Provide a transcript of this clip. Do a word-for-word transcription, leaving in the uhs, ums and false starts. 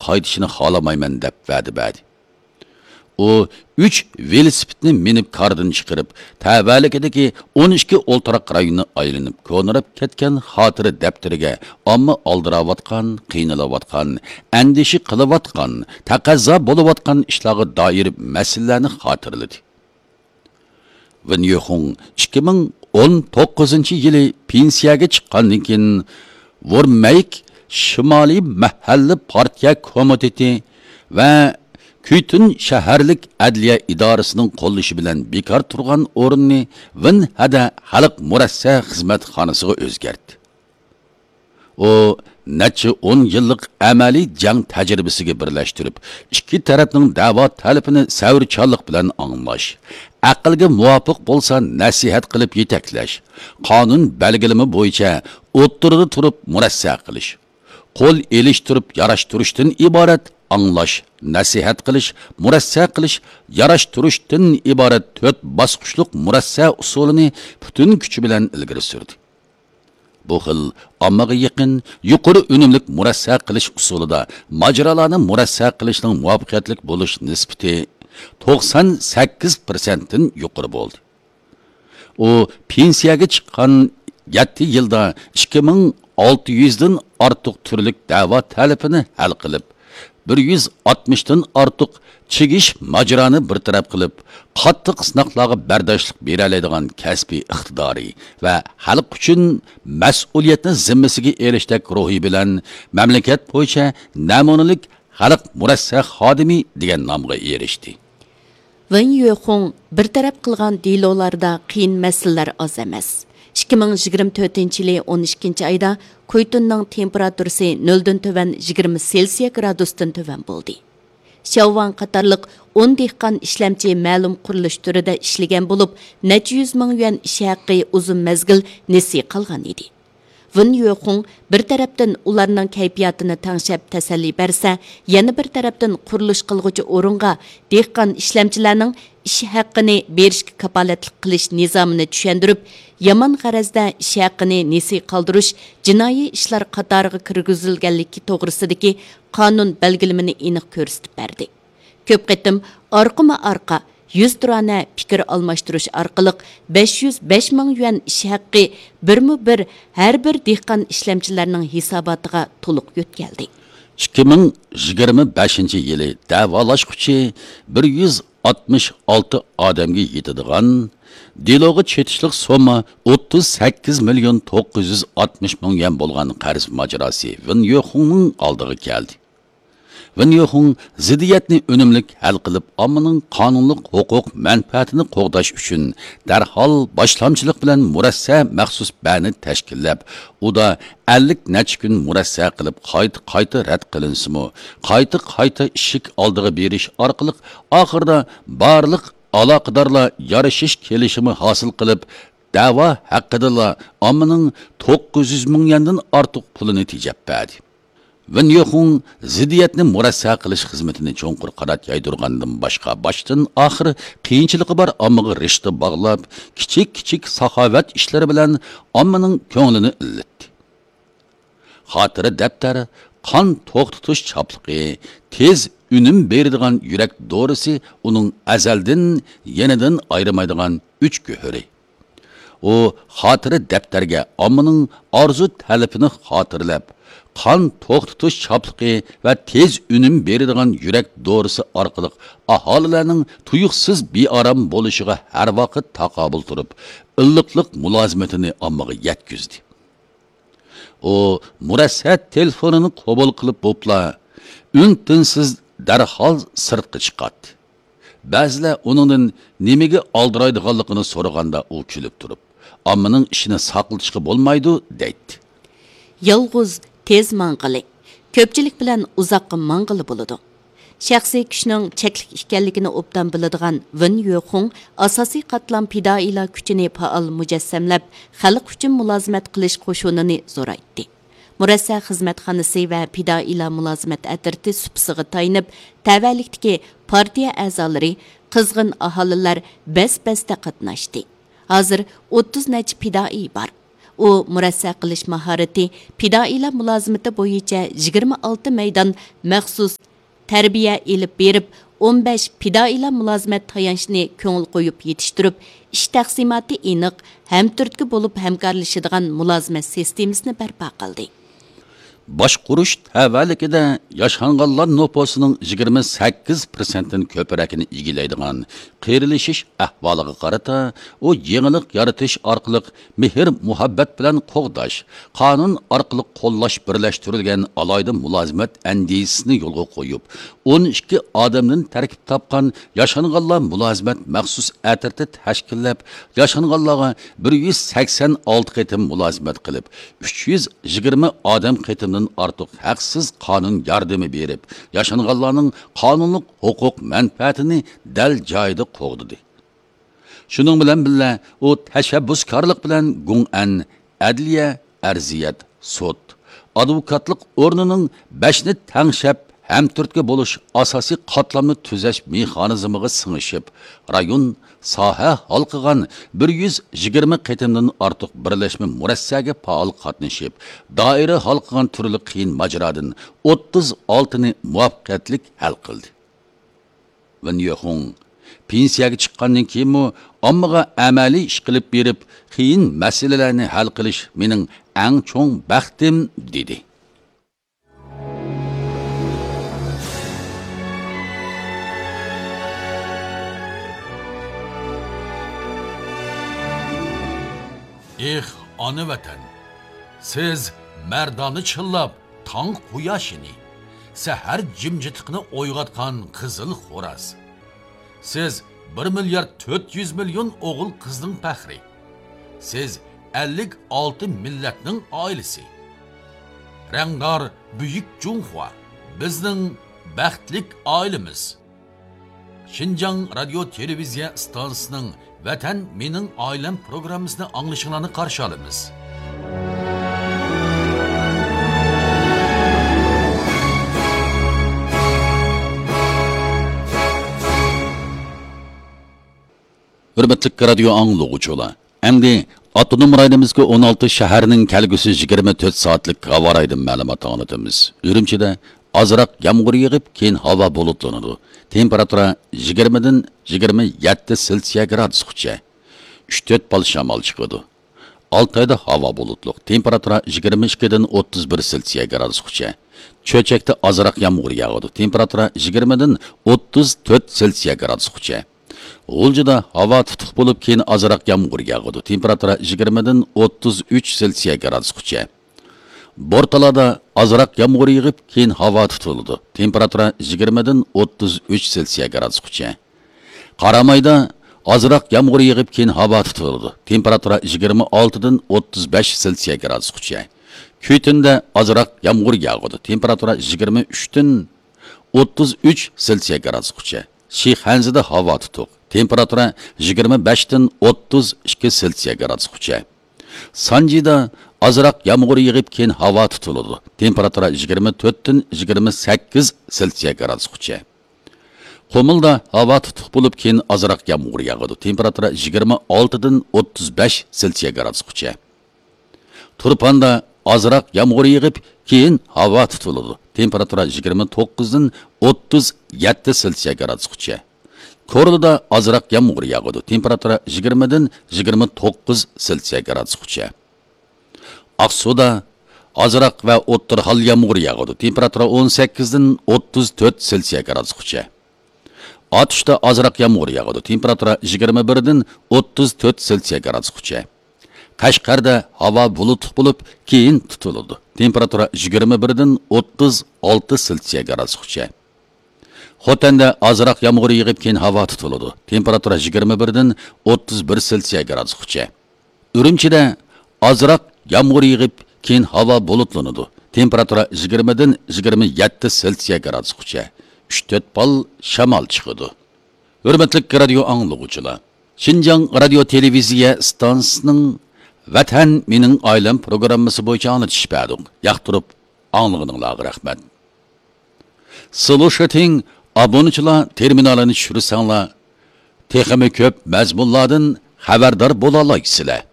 قايتىشىنى خالىمايمەن، دەپ ۋەدە بەردى. ئۇ ئۈچ ۋېلىسىپىتنى مىنىپ كاردىن چىقىرىپ، تەۋەلىكىدىكى ئون ئىككى ئولتۇراق رايوننى ئايلىنىپ، كونىراپ كەتكەن خاتىرە دەپتىرىگە ئامما ئالدىراۋاتقان، قىينىلىۋاتقان، ئەندىشە قىلىۋاتقان، تەقەززا بولۇۋاتقان ئىشلارغا دائىر مەسىلىلەرنى خاتىرىلىدى. ۋېن يۆخۇڭ ئىككى مىڭ ئون توققۇزىنچى يىلى پېنسىيەگە چىققاندىن كېيىن، ۋورمەيك شىمالىي مەھەللە پارتىيە كومىتېتى ۋە كۈيتۈن شەھەرلىك ئەدلىيە ئىدارىسىنىڭ قوللىشى بىلەن بىكار تۇرغان ئورۇننى ۋېنھەدە خەلق مۇرەسسە خىزمەتخانىسىغا ئۆزگەرتتى. ئۇ نەچچە ئون يىللىق ئەمەلىي جەڭ تەجرىبىسىگە بىرلەشتۈرۈپ، ئىككى تەرەپنىڭ دەۋا تەلىپىنى سەۋرچانلىق بىلەن ئاڭلاش، ئەقىلگە مۇۋاپىق بولسا نەسىھەت قىلىپ يېتەكلەش، قانۇن بەلگىلىمە بويىچە ئوتتۇرىدا تۇرۇپ مۇرەسسە قىلىش، قول ئېلىشتۇرۇپ ياراشتۇرۇشتىن ئىبارەت ئاڭلاش، نەسىھەت قىلىش، مۇرەسسە قىلىش، ياراشتۇرۇشتىن ئىبارەت تۆت باسقۇچلۇق مۇرەسسە ئۇسۇلىنى پۈتۈن كۈچى بىلەن ئىلگىرى سۈردى. بۇ خىل ئاممىغا يېقىن، يۇقىرى ئۈنۈملۈك مۇرەسسە قىلىش ئۇسۇلىدا ماجىرالارنى مۇرەسسە قىلىشنىڭ مۇۋەپپەقىيەتلىك بولۇش نىسبىتى توقسان سەككىز پىرسەنتتىن يۇقىرى بولدى. ئۇ پېنسىيەگە چىققان يەتتە يىلدا ئىككى مىڭ ئالتە يۈزدىن ئارتۇق تۈرلۈك دەۋا تەلىپىنى ھەل قىلىپ، بىر يۈز ئاتمىشتىن ئارتۇق چىگىش ماجىرانى بىر تەرەپ قىلىپ، قاتتىق سىناقلارغا بەرداشلىق بېرەلەيدىغان كەسپىي ئىقتىدارى ۋە خەلق ئۈچۈن مەسئۇلىيەتنى زىممىسىگە ئېلىشتەك روھى بىلەن مەملىكەت بويىچە نەمۇنىلىك خەلق مۇرەسسە خادىمى دېگەن نامغا ئېرىشتى. ۋېن يۆخۇڭ بىر تەرەپ قىلغان دېلولاردا قىيىن مەسىلىلەر ئاز ئەمەس. ئىككى مىڭ يىگىرمە تۆتىنچى يىلى ئون ئىككىنچى ئايدا كۇيتۇننىڭ تېمپېراتۇرىسى نۆلدىن تۆۋەن يىگىرمە سېلسىيە گرادۇستىن تۆۋەن بولدى. شياۋۋاڭ قاتارلىق ئون دېھقان ئىشلەمچى مەلۇم قۇرۇلۇش تۈرىدە ئىشلىگەن بولۇپ، نەچچە يۈز مىڭ يۈەن ئىش ھەققى ئۇزۇن مەزگىل نېسى قالغان ئىدى. ۋېن يۆخۇڭ بىر تەرەپتىن ئۇلارنىڭ كەيپىياتىنى تەڭشەپ تەسەللى بەرسە، يەنە بىر تەرەپتىن قۇرۇلۇش قىلغۇچى ئورۇنغا دېھقان ئىشلەمچىلەرنىڭ ئىش ھەققىنى بېرىشكە كاپالەتلىك قىلىش نىزامىنى چۈشەندۈرۈپ، يامان غەرەزدە ئىش ھەققىنى نېسى قالدۇرۇش جىنايى ئىشلار قاتارىغا كىرگۈزۈلگەنلىكى توغرىسىدىكى قانۇن بەلگىلىمىنى ئېنىق كۆرسىتىپ بەردى. كۆپ قېتىم ئارقىمۇ ئارقا يۈزتۇرانە پىكىر ئالماشتۇرۇش ئارقىلىق بەش يۈز بەش مىڭ يۈەن ئىش ھەققى بىرمۇ بىر ھەر بىر دېھقان ئىشلەمچىلەرنىڭ ھېساباتىغا تولۇق يۆتكەلدى. ئىككى مىڭ يىگىرمە بەشىنچى يىلى دەۋالاشقۇچى بىر يۈز ئاتمىش ئالتە ئادەمگە يېتىدىغان، دېلوغا چېتىشلىق سومما ئوتتۇز سەككىز مىليون توققۇز يۈز ئاتمىش مىڭ يۈەن بولغان قەرز ماجىراسى ۋېن يۆخۇڭنىڭ ئالدىغا كەلدى. ۋېن يۆخۇڭ زىددىيەتنى ئۈنۈملۈك ھەل قىلىپ، ئاممىنىڭ قانۇنلۇق ھوقۇق مەنپەئەتىنى قوغداش ئۈچۈن دەرھال باشلامچىلىق بىلەن مۇرەسسە مەخسۇس بەنى تەشكىللەپ، ئۇدا ئەللىك نەچچە كۈن مۇرەسسە قىلىپ، قايتا-قايتا رەت قىلىنسىمۇ، قايتا-قايتا ئىشىك ئالدىغا بېرىش ئارقىلىق، ئاخىرىدا بارلىق ئالاقىدارلار يارىشىش كېلىشىمى ھاسىل قىلىپ، دەۋا ھەققىدىلا ئاممىنىڭ توققۇز يۈز مىڭ يۈەندىن ئارتۇق پۇلىنى تېجەپ بەردى. ۋېن يۆخۇڭ زىددىيەتنى مۇرەسسە قىلىش خىزمىتىنى چوڭقۇر قانات يايدۇرغاندىن باشقا، باشتىن ئاخىر قىيىنچىلىقى بار ئاممىغا رىشتە باغلاپ، كىچىك-كىچىك ساخاۋەت ئىشلىرى بىلەن ئاممىنىڭ كۆڭلىنى ئىللىتتى. خاتىرە دەپتەر، قان توختىتىش چاپلىقى، تېز ئۈنۈم بېرىدىغان يۈرەك دورىسى ئۇنىڭ ئەزەلدىن يېنىدىن ئايرىمايدىغان ئۈچ گۆھىرى. ئۇ خاتىرە دەپتەرگە ئاممىنىڭ ئارزۇ تەلىپىنى خاتىرىلەپ، قان توختىتىش چاپلىقى ۋە تېز ئۈنۈم بېرىدىغان يۈرەك دورىسى ئارقىلىق ئاھالىلەرنىڭ تۇيۇقسىز بىئارام بولۇشىغا ھەر ۋاقىت تاقابىل تۇرۇپ، ئىللىقلىق مۇلازىمىتىنى ئاممىغا يەتكۈزدى. ئۇ مۇرەسسە تېلېفونىنى قوبۇل قىلىپ بوپلا، ئۈن-تىنسىز دەرھال سىرتقا چىقاتتى. بەزىلەر ئۇنىڭدىن نېمىگە ئالدىرايدىغانلىقىنى سورىغاندا، ئۇ كۈلۈپ تۇرۇپ، «ئاممىنىڭ ئىشىنى ساقلىتىشقا بولمايدۇ» دەيتتى. يالغۇز تېز ماڭغىلى، كۆپچىلىك بىلەن ئۇزاققا ماڭغىلى بولىدۇ. شەخسىي كۈچنىڭ چەكلىك ئىكەنلىكىنى ئوبدان بىلىدىغان ۋېن يۆخۇڭ ئاساسىي قاتلام پىدائىيلار كۈچىنى پائال مۇجەسسەملەپ، خەلق ئۈچۈن مۇلازىمەت قىلىش قوشۇنىنى زورايتتى. مۇرەسسە خىزمەتخانىسى ۋە پىدائىيلار مۇلازىمەت ئەترىتى سۇپىسىغا تايىنىپ، تەۋەلىكتىكى پارتىيە ئەزالىرى، قىزغىن ئاھالىلەر بەس-بەستە قاتناشتى. ھازىر ئوتتۇز نەچچە پىدائىي بار. ئۇ مۇرەسسە قىلىش ماھارىتى، پىدائىيلار مۇلازىمىتى بويىچە يىگىرمە ئالتە مەيدان مەخسۇس تەربىيە ئېلىپ بېرىپ، ئون بەش پىدائىيلار مۇلازىمەت تايانچىنى كۆڭۈل قويۇپ يېتىشتۈرۈپ، ئىش تەقسىماتى ئېنىق، ھەمتۈرتكە بولۇپ ھەمكارلىشىدىغان مۇلازىمەت سىستېمىسىنى بەرپا قىلدى. باشقۇرۇش تەۋەلىكىدە ياشانغانلار نوپۇسىنىڭ يىگىرمە سەككىز پىرسەنتتىن كۆپرەكىنى ئىگىلەيدىغان قېرىلىشىش ئەھۋالىغا قارىتا، ئۇ يېڭىلىق يارىتىش ئارقىلىق مېھىر-مۇھەببەت بىلەن قوغداش، قانۇن ئارقىلىق قوللاش بىرلەشتۈرۈلگەن ئالاھىدە مۇلازىمەت ئەندىزىسىنى يولغا قويۇپ، ئون ئىككى ئادەمدىن تەركىب تاپقان ياشانغانلار مۇلازىمەت مەخسۇس ئەترىتى تەشكىللەپ، ياشانغانلارغا بىر يۈز سەكسەن ئالتە قېتىم مۇلازىمەت قىلىپ، ئۈچ يۈز يىگىرمە ئادەم قېتىمدىن ئارتۇق ھەقسىز قانۇن ياردىمى بېرىپ، ياشانغانلارنىڭ قانۇنلۇق ھوقۇق مەنپەئەتىنى دەل جايىدا قوغدىدى. شۇنىڭ بىلەن بىللە، ئۇ تەشەببۇسكارلىق بىلەن گۇڭئەن، ئەدلىيە، ئەرزىيەت، سوت، ئادۋوكاتلىق ئورنىنىڭ بەشنى تەڭشەپ، ھەمتۈرتكە بولۇش ئاساسىي قاتلامنى تۈزەش مېخانىزمىغا سىڭىشىپ، رايون، ساھە ھالقىغان بىر يۈز يىگىرمە قېتىمدىن ئارتۇق بىرلەشمە مۇرەسسەگە پائال قاتنىشىپ، دائىرە ھالقىغان تۈرلۈك قىيىن ماجىرادىن ئوتتۇز ئالتىنى مۇۋەپپەقىيەتلىك ھەل قىلدى. ۋېن يۆخۇڭ پېنسىيەگە چىققاندىن كېيىنمۇ ئاممىغا ئەمەلىي ئىش قىلىپ بېرىپ، قىيىن مەسىلىلەرنى ھەل قىلىش مېنىڭ ئەڭ چوڭ بەختىم، دېدى. ئېھ، ئانا ۋەتەن! سىز مەردانە چىللاپ، تاڭ قۇياشىنى، سەھەر جىمجىتلىقىنى ئويغاتقان قىزىل خوراز. سىز بىر مىليارد تۆت يۈز مىليون ئوغۇل قىزنىڭ پەخرى. سىز ئەللىك ئالتە مىللەتنىڭ ئائىلىسى. رەڭدار بۈيۈك جۇڭخۇا، بىزنىڭ بەختلىك ئائىلىمىز. شىنجاڭ رادىيو تېلېۋىزىيە ئىستانسىسىنىڭ ۋەتەن مېنىڭ ئائىلەم پروگراممىسىنى ئاڭلىشىڭلارنى قارشى ئالىمىز. ھۆرمەتلىك رادىيو ئاڭلىغۇچىلار، ئەمدى ئاپتونوم رايونىمىزدىكى ئون ئالتە شەھەرنىڭ كەلگۈسى يىگىرمە تۆت سائەتلىك ھاۋا رايىدىن مەلۇمات ئاڭلىتىمىز. ئۈرۈمچىدە ئازراق يامغۇر يېغىپ، كېيىن ھاۋا بۇلۇتلىنىدۇ. تېمپېراتۇرا يىگىرمىدىن يىگىرمە يەتتە سېلسىيە گرادۇسقىچە. ئۈچ تۆت بال شامال چىقىدۇ. ئالتايدا ھاۋا بۇلۇتلۇق. تېمپېراتۇرا يىگىرمە ئىككىدىن ئوتتۇز بىر سېلسىيە گرادۇسقىچە. چۆچەكتە ئازراق يامغۇر ياغىدۇ. تېمپېراتۇرا يىگىرمىدىن ئوتتۇز تۆت سېلسىيە گرادۇسقىچە. غۇلجىدا ھاۋا تۇتۇق بولۇپ، كېيىن ئازراق يامغۇر ياغىدۇ. تېمپېراتۇرا يىگىرمىدىن ئوتتۇز ئۈچ سېلسىيە گرادۇسقىچە. بورتالادا ئازراق يامغۇر يېغىپ، كېيىن ھاۋا تۇتۇلىدۇ. تېمپېراتۇرا يىگىرمىدىن ئوتتۇز ئۈچ سېلسىيە گرادۇسقىچە. قارامايدا ئازراق يامغۇر يېغىپ، كېيىن ھاۋا تۇتۇلىدۇ. تېمپېراتۇرا يىگىرمە ئالتىدىن ئوتتۇز بەش سېلسىيە گرادۇسقىچە. كۈيتۈندە ئازراق يامغۇر ياغىدۇ. تېمپېراتۇرا يىگىرمە ئۈچتىن ئوتتۇز ئۈچ سېلسىيە گرادۇسقىچە. شىخەنزىدە ھاۋا تۇتۇق. تېمپېراتۇرا يىگىرمە بەشتىن ئوتتۇز ئىككى سېلسىيە گرادۇسقىچە. سانجىدا ئازراق يامغۇر يېغىپ، كېيىن ھاۋا تۇتۇلىدۇ. تېمپېراتۇرا يىگىرمە تۆتتىن يىگىرمە سەككىز سېلسىيە گرادۇسقىچە. قۇمۇلدا ھاۋا تۇتۇق بولۇپ، كېيىن ئازراق يامغۇر ياغىدۇ. تېمپېراتۇرا يىگىرمە ئالتىدىن ئوتتۇز بەش سېلسىيە گرادۇسقىچە. تۇرپاندا ئازراق يامغۇر يېغىپ، كېيىن ھاۋا تۇتۇلىدۇ. تېمپېراتۇرا يىگىرمە توققۇزدىن ئوتتۇز يەتتە سېلسىيە گرادۇسقىچە. كورلىدا ئازراق يامغۇر ياغىدۇ. تېمپېراتۇرا يىگىرمىدىن يىگىرمە توققۇز سېلسىيە گرادۇسقىچە. ئاقسۇدا ئازراق ۋە ئوتتۇرا ھال يامغۇر ياغىدۇ. تېمپېراتۇرا ئون سەككىزدىن ئوتتۇز تۆت سېلسىيە گرادۇسقىچە. ئاتۇشتا ئازراق يامغۇر ياغىدۇ. تېمپېراتۇرا يىگىرمە بىردىن ئوتتۇز تۆت سېلسىيە گرادۇسقىچە. قەشقەردە ھاۋا بۇلۇتلۇق بولۇپ، كېيىن تۇتۇلىدۇ. تېمپېراتۇرا يىگىرمە بىردىن ئوتتۇز ئالتە سېلسىيە گرادۇسقىچە. خوتەندە ئازراق يامغۇر يېغىپ، كېيىن ھاۋا تۇتۇلىدۇ. تېمپېراتۇرا يىگىرمە بىردىن ئوتتۇز بىر سېلسىيە گرادۇسقىچە. ئۈرۈمچىدە ئازراق يامغۇر يېغىپ، كېيىن ھاۋا بۇلۇتلىنىدۇ. تېمپېراتۇرا يىگىرمىدىن يىگىرمە يەتتە سېلسىيە گرادۇسقىچە. ئۈچ تۆت بال شامال چىقىدۇ. ھۆرمەتلىك رادىيو ئاڭلىغۇچىلار، شىنجاڭ رادىيو تېلېۋىزىيە ئىستانسىسىنىڭ ۋەتەن مېنىڭ ئائىلەم پروگراممىسى بويىچە ئاڭلىتىش بەردۇق. ياقتۇرۇپ ئاڭلىغىنىڭلارغا رەھمەت. سلۇشىتىڭ ئابۇنىچىلار تېرمىنالىنى چۈشۈرسەڭلار، تېخىمۇ كۆپ مەزمۇنلاردىن خەۋەردار بولالايسىلەر.